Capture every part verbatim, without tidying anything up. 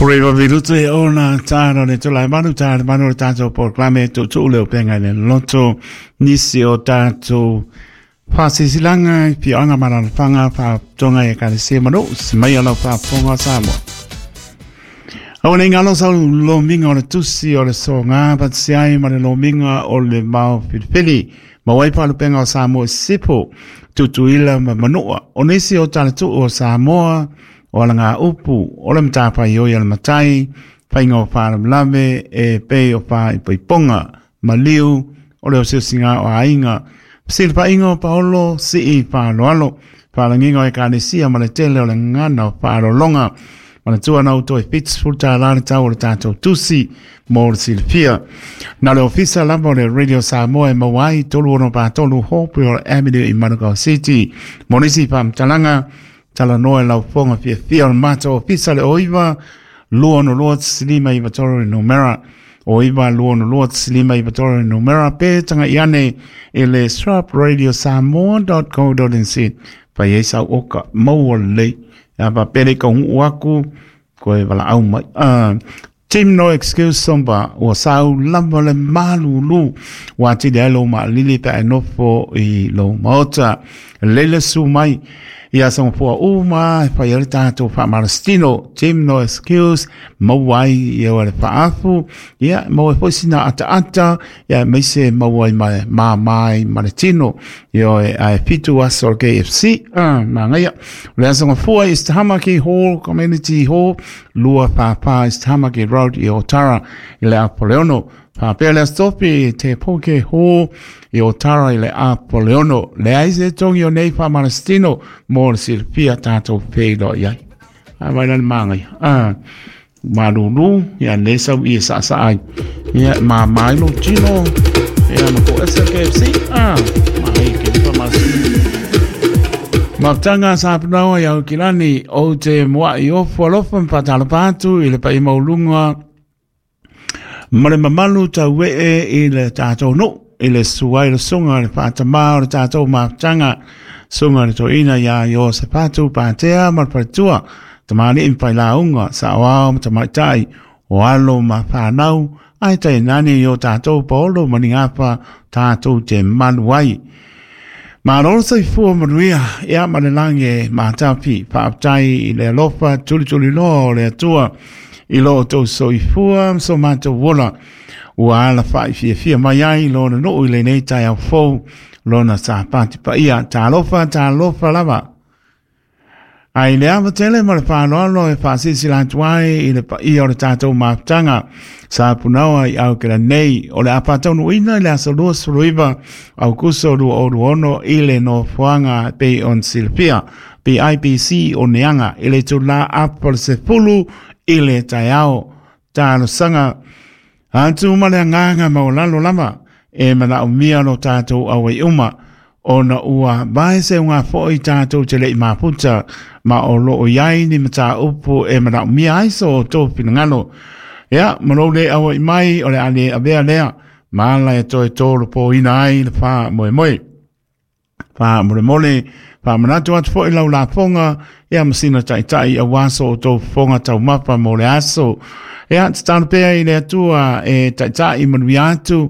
Forever virutu e ona tāra le tula e manu tāra manu le tātou porklame tūtū leo penga le loto nisi o tātou whasisilanga i pioanga maralawhanga whatonga e kare manu si mai alau whaponga Samoa. Au nei ngalo sau lominga o le tusi o le so ngā patisiai ma le lominga o le mau filifili ma wai palupenga o Samoa sipo tutuila ma manua o nisi o tāna o Samoa o ala ngā upu, o le mtāpai oi ala matai, whainga o whaalamlame, e pei o wha i poiponga, maliu, o le o siusinga o ainga, silpa inga o paolo, si i whaaloalo, whaalanginga o e kānesia ma le tele o le ngana o whaalolonga, ma le tua nau toi fits fulta lana tau o le tātou tusi, mō le silfia. Nā le ofisa lava o le Radio Samoa e mauai, tolu ono pātolu Hopewell Avenue i Manukau City. Mō nisi whamtalanga, tala noa e lau fonga fia fia o le mata o fisa le oiva lua no lua tsilima i vatoro i numera oiva lua no lua tsilima i vatoro i numera pe tanga iane e le srap radio samoa dot co dot nz pai e sau oka maua lei a pa pere ka hu aku koe wala au mai. Uh, Team No Excuse Somba o sau lava le malulu wa ti le lo ma lili pe nofo i lo maota lele su mai ia songa pua uma e whai ore tātou wha Team No Excuse mauai ia wale whaafu ia mauai foi sina ata ata ia meise mauai mai ma mai ma le tino ia e ai fitu aso o K F C ah ma ngaia le songa fua is Tamaki Hall Community Hall lua papa is Tamaki Road i Otara i le Apoleono Papele stopi te poke ho i Otara i le Apoleono le aise tongi o nei whamarastino mō le silfia tātou pēlo iai. A vai lani māngai. Ah, malulu, ia le sau i e sa sa ai. Ia mā mailo tino, ia ma ko S K F C. Ah, ma hei ke whamarastino. Maptanga sa panaua iau kilani o te mua i ofu alofa mpatalapatu i le pai maulunga ma le mamalu tau e i le tātou no, i le suai le sunga le whaatamā o le tātou maptanga sunga le toina ia i o se pātu pātea ma le paritua tamani impai launga sa oao ma tamaitai o alo ma whanau ai tai nani i o tātou paolo maningapa tātou te manuai. Ma roro saifua manuia, ia ma le lange mātapi, whaaptai i le alofa tuli tuli loa o le atua, i lo tau soifua so mātou wola, ua ala whai fia fia mai ai lona nuu i le nei tai au fou, lona sa pāti pa ia, tā alofa, tā alofa lava. Ai le awa tele ma le whāloalo e whaasisi latuai i le pa ia o le tātou māputanga, sa punawa i au kera nei, o le apatau ina i le aso lua suluiva, au kuso lua oru ono i le no fuanga pe on silfia, P I P C o neanga, i le tula apo le sefulu i le taiao, tālo sanga, atu ma le anganga maulalo lava, e mana umia no tātou awe uma, ona ua vai se unga foi tātou te lei maputa, ma o loo iai ni mata upu e mana umia aiso o tō pinangalo. Ia, malo le awa i mai o le ale avea lea, maala e toe tōro pō ina ai le wha moe moe. Wha more mole, wha manatu atu foi lau la fonga, ia masina taitai a waso o tō fonga tau mapa mo le aso. Ia, te tānu pea i le atua e taitai manui atu,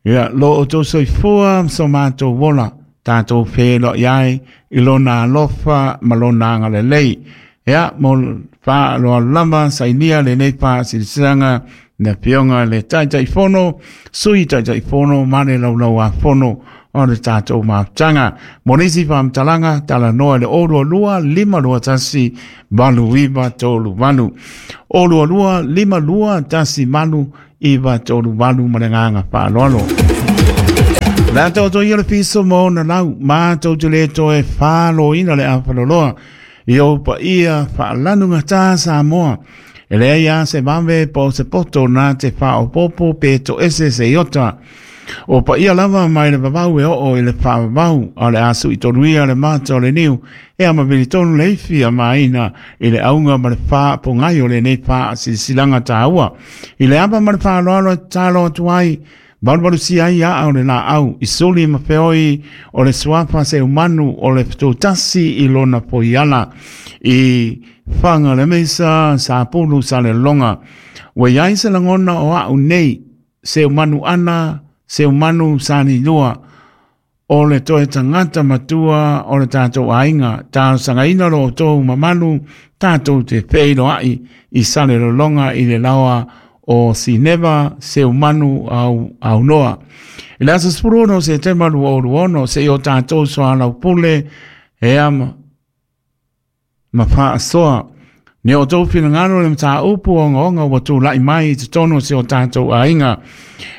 ia, lo o tō soifua so mātou wola, tātou whēlo iai, i lona alofa ma lona angalelei. Ia, mo wha loa lama, sainia le nei wha silisanga, na pionga le taitai fono, sui taitai fono, mane laulau a fono, o le tātou māputanga. Mo nisi whamtalanga, tala noa le orua lua, lima lua tasi, malu iwa tolu malu. Orua lua, lima lua, tasi malu, iwa tolu malu, ma le nganga whaaloalo. La tau toi le piso mo na lau, mātou te le toe whālo ina le awhaloloa, i o pa ia whaalanu ngā tā Samoa. E lea ia se mawe po se poto nā te whaopopo pe to ese se iota. O pa ia lava mai le vavau e oo i le whaavau a le asu i tonuia le mata o le niu e ama vili tonu le ifi a maina i le aunga ma le wha po ngai o le nei wha silisilanga tāua. I le apa ma le whaaloalo e tālo atu ai, Valuvalu si ai a au le la au, i suli ma feoi o le suapa se umanu o le fetotasi i lona poiala. I Whanga le meisa sa pulu sa le longa. Ua iai se lagona o a'u nei Seumanu ana Seumanu sa ni lua o le toe tagata matua o le tatou aiga talosagaina lo outou mamalu tatou te feiloa'i i Salelologa i le laoa o Sineva Seumanu au aunoa. I le aso sefulu ono o Setema lua o lua ono se'i o tatou soalaupule ea ma, ma fa'asoa ni o tou finagalo le mataupu ogaoga ua tula'i mai i totonu o se o tatou aiga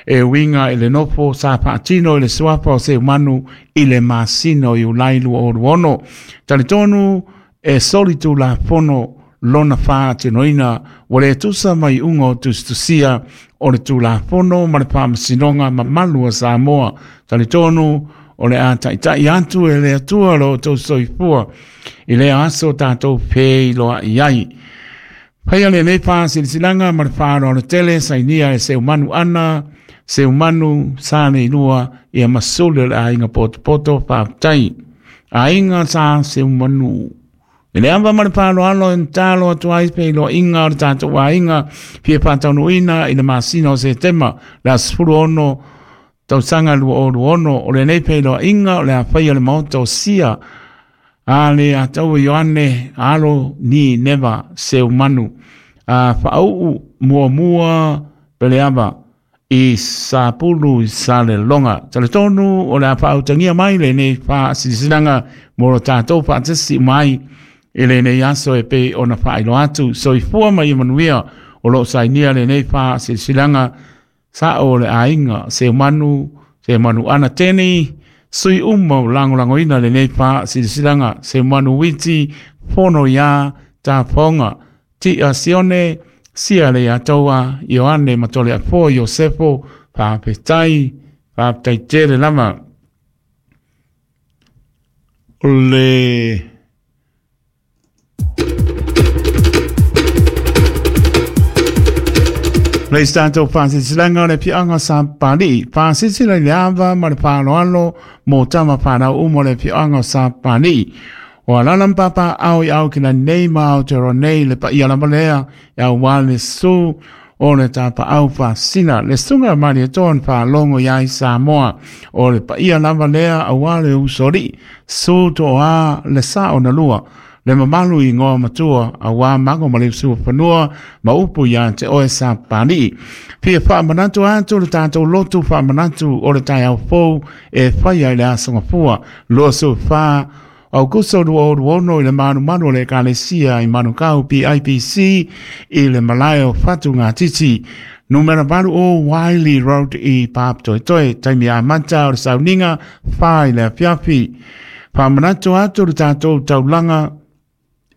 e uiga i le nofo sa fa'atino i le suafa o Seumanu i le masina o Iulai lua o lua ono. Talitonu e soli tulafono lona fa'atinoina ua lē tusa mai iuga o tusitusia o le tulafono ma le faamasinoga mamalu a Samoa. Talitonu o le a ta'ita'i atu e le Atua lo outou soifua i lea aso tatou feiloa'i ai. Faia lenei fa'asilasilaga ma le fa'aloalo tele sainia e Seumanu ana Seumanu sa leilua ia masuli o le aiga potopoto fa'afetai. Aiga sa Seumanu. I le ava ma le fa'aloalo e talo atu ai feiloaiga o le tatou aiga fia fa'ataunuuina i le masina o Setema le aso sefulu ono tausaga lua o lua ono o lenei feiloaiga o le afaia o le maota o Sia a le ataua Ioane alo ni neva Seumanu a fa'auu muamua peleava i Sapulu i Salelologa. Talitonu o le a fa'autagia mai lenei fa'asilasilaga mo lo tatou fa'atasi mai i lenei aso e pei ona fa'ailoa atu. Soifua ma ia manuia o lo'o sainia lenei fa'asilasilaga sa'o o le aiga Seumanu Seumanu ana teni sui uma o lagolagoina lenei fa'asilasilaga Seumanu Witi Fono iā Tafoga Ti'a Sione Sia le Atoa Ioane Matole Afoa Iosefo fa'afetai fa'afetai tele lava. O le Le tatou fa'asilasilaga o le afioaga o Sapapali'i fa'asilasila i le ava ma le fa'aloalo mo tama fanau uma o le afioaga o Sapapali'i o alala ma papa'ao i ao kilani nei ma Aotearoa nei le paia lava lea e auā le su o le tapa'au fa'asina le suga malietoa na fa'alogo iai Samoa o le paia lava lea auā le usoali'i su to'oā le sa'o na lua le mamalu i igoa matua auā mago ma le usufanua ma upu iā te oe Sapapali'i. Fia fa'amanatu atu le tatou lotu fa'amanatu o le taeao fou e faia i le aso gafua lua sefulufā Aukuso lua o lua ono i le malumalu o le Ekalesia i Manukau P I P C i le malae o Fatugatiti. Numera valu o Wiley Road i Papatoetoe, taimi amata o le sauniga fa i le afiafi. Fa'amanatu atu le tatou taulaga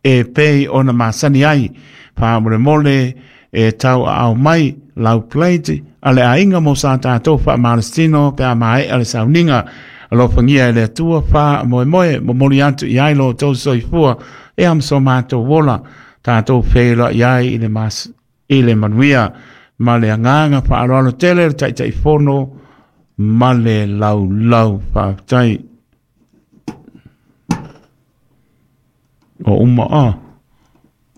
e pei ona masani ai. Fa'amolemole e tau a'ao mai lau plate a le aiga mo sa tatou fa'amalositino pe a mae'a le sauniga. Alofagia e le Atua fa'amoemoe momoli atu i ai lo outou soifua e amaso matou ola tatou feiloa'i ai i le mas i le manuia ma le agaga fa'aloalo tele le ta'ita'ifono ma le laulau fa'afetai. Ua uma a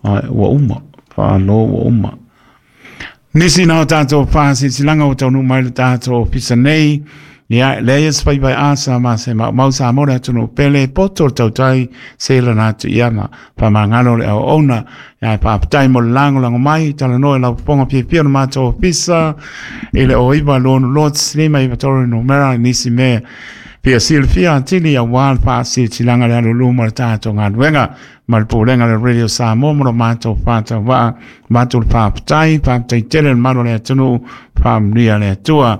ai ua uma fa'alo ua uma. Nisi na o tatou fa'asilasilaga ua taunuu mai le tatou ofisa nei. Ia leia se faipai asa ma se maumau sa mo le atunuu pele poto le tautai se lana atu iana fa'amagalo le auauna ia fa'afetai mo le lagolago mai talanoa i lau fofoga fiafia o le matou ofisa i le o iva lua ono lua lima iva tolu numera i nisi mea fia silafia atili auā le fa'asilasilaga le alulu ma le tatou galuega ma le pulega le Radio Samoa mo lo matou fa'atauva'a matou le fa'afetai fa'afetai tele le malu o le atunuu fa'amanuia le Atua.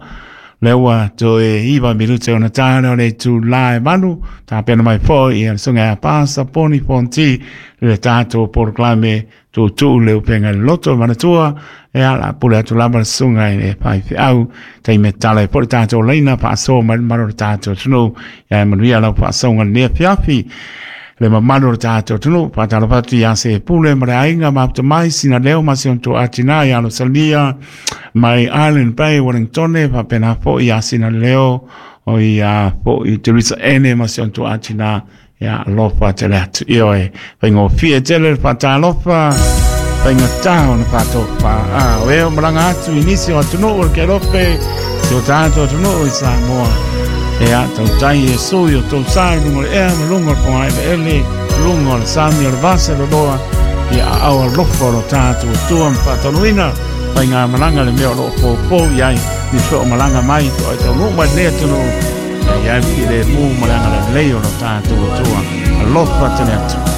Le ua toe iva minute ona tāle o le itulā e valu tapena mai fo'i ia le susuga ia Pasa Poni Fonti le tatou polokalame tuutuu le upega i le loto manatua e ala pule atu lava le susuga i le faifeau taimi e tala ai fo'i le tatou laina fa'asoa mai le mamalu o le tatou atunuu ia e manuia lau fa'asoaga lenei afiafi le mamalu o le tatou atunuu fa'atalofa atu iā se pule ma le aiga mafuta mai sina leo ma si ona to'atinā ia Alosalia mai Island Bay Wellingtone fa'apena fo'i iā sina leo o ia fo'i Teresa Ene ma si ona to'atinā Ia alofa tele atu. Ioe, faigofie tele le faatalofa, faigata ona faatofa. A o e o malaga atu i nisi o atunuu o le Kelope, si o tatou atunuu i Samoa. Ia tautai Iesu i o tou sa i luga o le ea ma luga o le fogaeleele, luga o le sami o le vaseloloa, ia aao alofa o lo tatou Atua ma faataunuuina faigamalaga le mea o loo poupou i ai, ni so o malaga mai to ai taunuu mai lenei atunuu, ia i ai le filemu ma le agalelei o lo tatou Atua. Alofa tele atu.